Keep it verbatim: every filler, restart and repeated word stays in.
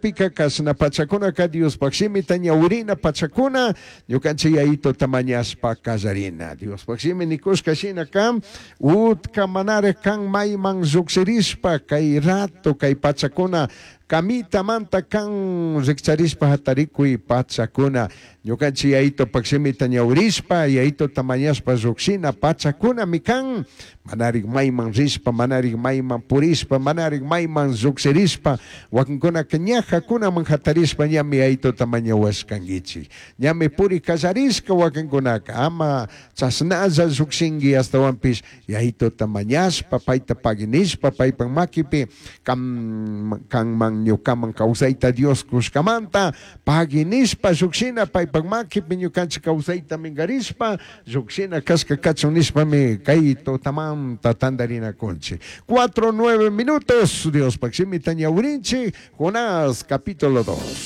Cakpika kashna pachakunaka Diospaj shimita ñawirina pachakuna ñukanchik yayituta mañashpa kallarina. Diospaj shimi nikushka shinaka utka manarik kan mayman llukshirishpa kay rato kay pachakuna kamitamanta kan rikcharishpa hatarikuy pachakuna ñukanchik yayitupak shimita ñawirishpa yayituta mañashpa llukshina pachakunami kan manarik mayman rishpa manarik mayman purishpa manarik mayman llukshirishpa wakinkunaka ñajakunaman hatarishpa ñami yayituta mañawashkankichik ñami puri kallarishka wakinkunaka ama chashnalla llukshinki astawanpish yayituta mañashpa payta paginishpa paypak makipi kan kanman ñukaman kawsayta Dios kushkamanta paginishpa llukshina paypak makipi ñukanchik kawsayta minkarishpa llukshina kashka kachun nishpami kay tutamanta tantarinakunchik. Cuatro nueve minutos, Diospaj shimita ñawirinchik, Jonás capítulo dos.